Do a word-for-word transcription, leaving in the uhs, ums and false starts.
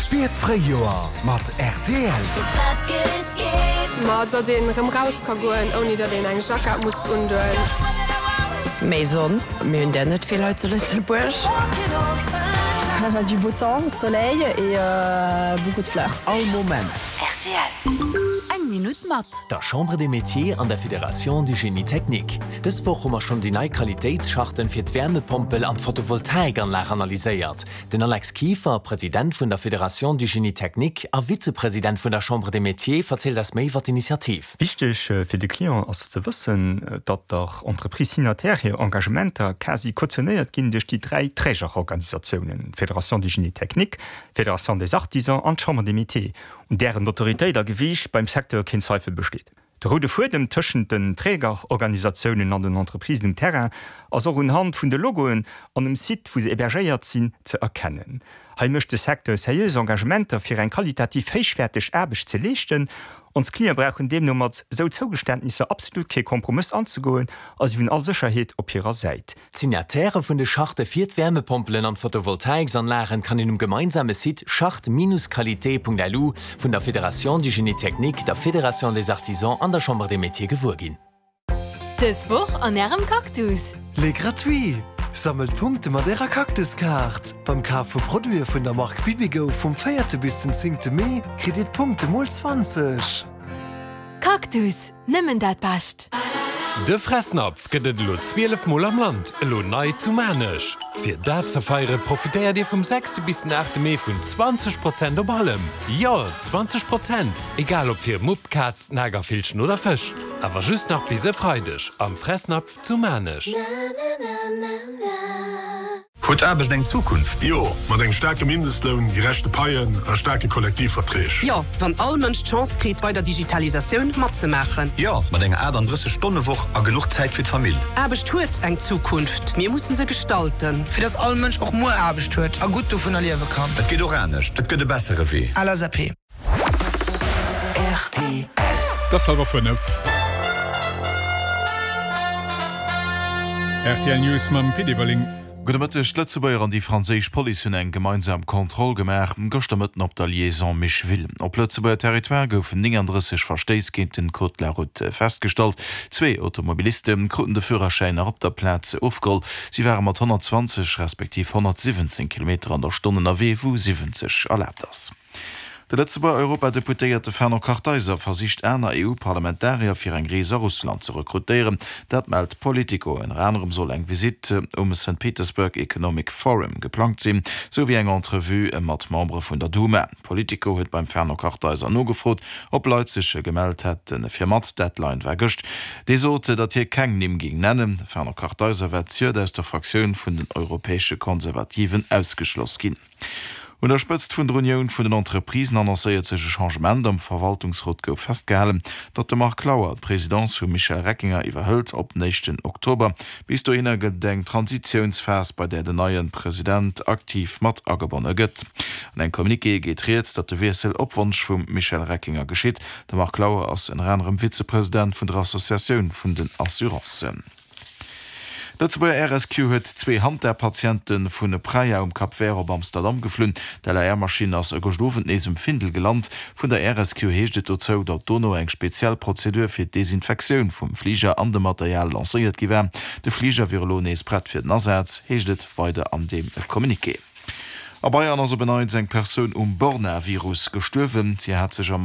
Spiert d'Fréijoer mat rtl. Ma datt een erëm raus ka goen, ouni datt een eng Jackett muss undoen. Méi Sonn, mir hunn der net vill hei zu Lëtzebuerg. Du beau temps, soleil et euh, beaucoup de fleurs. All Moment. Rtl. Eng Minutt mat. Der Chambre des Métiers an der Fédération du Génie Technique. Dës Woch hu mer schonn déi nei Qualitéitscharten fir d'Wärmepompel an d'Photovoltaikanlag analyséiert. Den Alex Kieffer, President vun der Fédération du Génie Technique a Vizepresident vun der Chambre des Métiers, verzielt eis méi iwwer d'Initiativ. Wichteg fir de Client ass ze wëssen, datt der Entreprise signataire hir Engagementer quasi kautionéiert ginn duerch déi dräi Trägerorganisatiounen, Fédération du Génie Technique, Fédération des Artisans an d'Chambre des Métiers, un dären Autoritéit a Gewiicht beim Secteur keen Zweifel besteet. De roude Fuedem tëschent den Trägerorganisatiounen an den Entreprisen um Terrain ass och unhand vun de Logoen an dem Site, wou se hébergéiert sinn, ze erkennen. Hei mécht de Secteur seriös Engagementer fir eng qualitativ héichwäerteg Aarbecht ze leeschten. Ons Clientë brauchen deemno mat sou Zougeständnisser absolut kee Kompromëss anzegoen a si hunn all Sécherheet op hirer Säit. D'Signatairë vun de Charte fir d'Wärmepompelen an d'Photovoltaiksanlagen kann een um gemeinsame Site charte-qualité.lu vun der Fédération du Génie Technique, der Fédération des Artisans an der Chambre des Métiers gewuer ginn. Dës Woch an Ärem Cactus. Les gratuits! Sammelt Punkte mat Ärer Cactus-Kaart. Beim Kaf vu Produite vun der Mark Bibigo vum véierte bis den zéngte Mee kritt Dir d'Punkte mol zwanzeg. Cactus, nëmmen dat Bescht! De Fressnapf gëtt et elo zwielef Mol am Land, elo nei zu Maarnech. Fir dat ze feiere profitéiert Dir vum sechste bis den aachte Mee vun zwanzeg Prozent op allem. Jo, zwanzeg Prozent! Egal ob fir Mupp, Kaz, Nagervillchen oder Fësch. Awer just nach bis e Freideg am Fressnapf zu Maarnech. Huet Aarbecht eng Zukunft? Jo, mat engem staarke Mindestloun, gerechte Paien a staarke Kollektivverträg. Jo, wann all Mënsch d'Chance kritt, bei der Digitalisatioun matzemaachen. Jo, mat enger aachtanddrësseg Stonne Woch a genuch Zäit fir d'Famill. Aarbecht huet eng Zukunft, mir mussen se gestalten. Fir dass all Mënsch och muer Aarbecht huet a gutt dovunner liewe kann. Et geet och anescht, et gëtt e bessere Wee. L S A P. Rtl. Et ass hallwer fënnef. Rtl News mam Pit Everling. Gudde Mëtteg, D'Lëtzebuerger an déi franséisch Police hunn eng gemeinsam Kontroll gemaach gëschter Mëtten op der Liaison Micheville. Op Lëtzebuerger Territoire goufen nénganddrësseg Verstéiss géint den Code de la route festgestallt. Zwee Automobiliste kruten de Führerschäin nach op der Plaz ofgeholl. Si ware mat honnertzwanzeg respektiv honnertsiwwenzéng Kilometer an der Stonn ënnerwee, wou siwwenzeg erlaabt ass. De Lëtzebuerger Europadeputéierte Fernand Kartheiser versicht aner E U-Parlamentarier fir eng Rees a Russland ze rekrutéieren. Dat mellt Politico. Ënner anerem soll eng Visitt um Saint Petersburg Economic Forum geplangt sinn, sou wéi eng Entrevue mat Membere vun der Duma. Politico huet beim Fernand Kartheiser nogefrot, ob Leit sech gemellt hätte fir mat. Deadline war gëscht. Dee sot, datt hie keng Nimm géing nennen. De Fernand Kartheiser war zejoert aus der Fraktioun vun den Europäesche Konservativen ausgeschloss ginn. Un der Spëtzt vun der Unioun vun den Entreprisen annoncéiert sech e Changement. Am Verwaltungsrot gouf festgehalen, datt de Marc Lauer d'Presidence vum Michel Reckinger iwwerhëlt op den éischten Oktober. Bis dohinner gëtt et eng Transitiounsphas, bei där den neie President aktiv mat agebonne gëtt. An engem Communiqué geet rieds, datt de Wiessel op Wonsch vum Michel Reckinger geschitt. De Marc Lauer ass ënner anerem Vizepresident vun der Associatioun vun den Assurancen. D'Lëtzebuerger R S Q huet zwee Hanta-Patiente vu Praia um Cap Vert op Amsterdam geflunn. D'L A R-Maschinn ass e gëscht Owend nees um Findel gelant. Vun der R S Q heescht et dozou, datt dono eng speziell Prozedur fir d'Desinfektioun vum Fliger an dem Material lancéiert gi war. De Fliger wier elo nees prett fir den Asaz, heescht et weider an deem Communiqué. A Bayern ass op en Neits eng Persoun um Borna-Virus gestuerwen. Si hat sech am.